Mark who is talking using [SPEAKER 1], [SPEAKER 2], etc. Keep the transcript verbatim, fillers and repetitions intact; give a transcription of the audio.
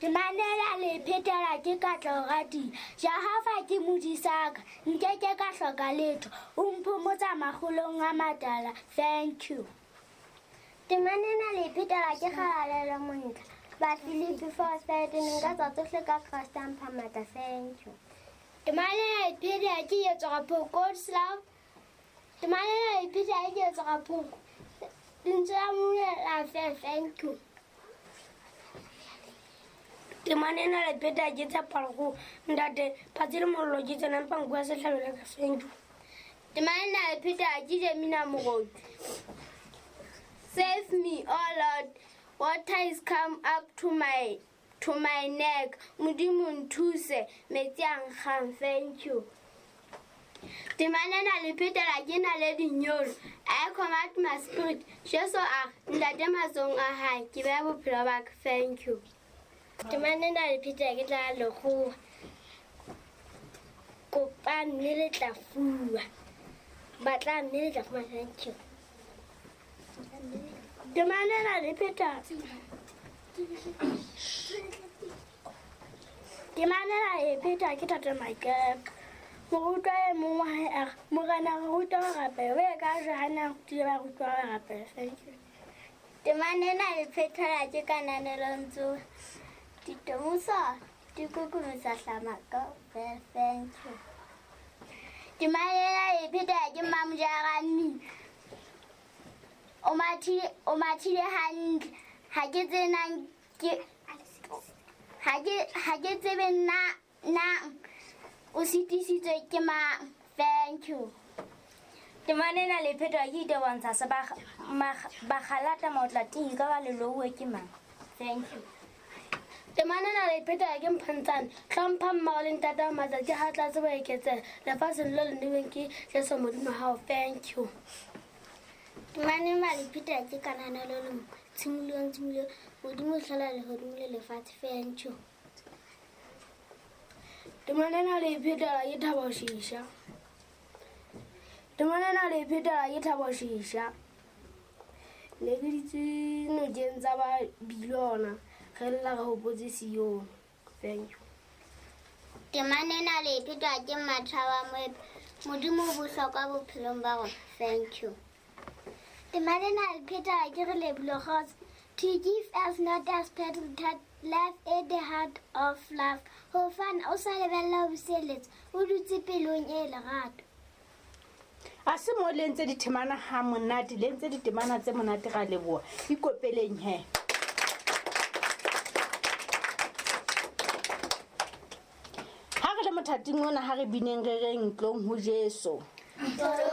[SPEAKER 1] Temana le phetela ke Katleho Radia. Jehova ke modisaka, nkeke ka hloka letho. O mphomotsa makgolong a matala. Thank you. Temana le phetela ke Kgalalelo Montle. Bafilipi four thirteen nka tsa tsohle ka Kreste a mpha matla. Thank you. Temana le phetela ke Yetsoga Phoko Slav. Temana le phetela ke Yetsoga Phoko. Lentswe la Modimo la fe. Thank you.
[SPEAKER 2] Temana ena le pheta ke Tshepalo ntate phatsi le mollo ke tsena mpa nku ya sehlabelo ka. Thank you.
[SPEAKER 1] Temana le pheta ke Jemina Moruti. Save me, O Lord. Water is come up to my to my neck. Modimo nthuse metsi a nkgang. Thank you. Temana na le phetela ke na le dinyolo. I command my spirit. Jesu a ntate matsohong a hae ke beha bophelo ba ka. Thank you. Temana na le phetela ke tla lekgowa. Kopa mme le tla fuwa. Batla mme le tla fumana. Thank you.
[SPEAKER 2] Temana na le pheta Temana na le pheta ke Tate Maikepe. Morutwa e mong wa hae a re, Morena re ruta ho rapela. O ye ka Johanne a rutile barutwa ba rapela. Thank you.
[SPEAKER 1] Temana na le phetela ke Kananelo Ntsoe. Ditomoso di kokobetsa hlama kaofela. Thank you. Temana na le phetela ke Mmamojara. O mathile o mathile hantle. Ha ke tsenang ke ha ke ha ke tsebe na na o sitisitswe ke mang. Thank you.
[SPEAKER 2] Temana ena le phetwa ke Itebontsha se bakgalata maotla ting ka ba lelouwe ke mang. Thank you. Temana ena le phetwa ke Mphantsane. Hlompha mmao le ntatao matsatsi ha tla tsebo eketseha lefatsheng le le neweng ke Jesu Modimo hao. Thank you.
[SPEAKER 1] Temana ena le phetwa ke Kananelo Lemo. Tshimolong tshimolong Modimo o hlola lehodimo le lefatshe. Thank you.
[SPEAKER 2] Temana ena le phetela ke Thabo Shisha. Temana ena le phetela ke Thabo Shisha. Ne ke ditse nokeng tsa ba Bilona re lla re hopotse Sione. Thank you.
[SPEAKER 1] Temana ena le phetwa ke Mathaba Moepe. Modimo o bohlokwa bophelong ba rona. Thank you. Temana ena le phetwa ke re Lebohile Kgotso. To give us not as petal that life at the heart of love. Ho fana o sa lebella ho buseletsa, o dutse pelong e lerato.
[SPEAKER 3] A se mo le ntse ditemana ha monate, le ntse ditemana tse monate ra leboha. Ikopeleng he. Ha re le mothating ona ha re bineng re reng tlong ho Jesu.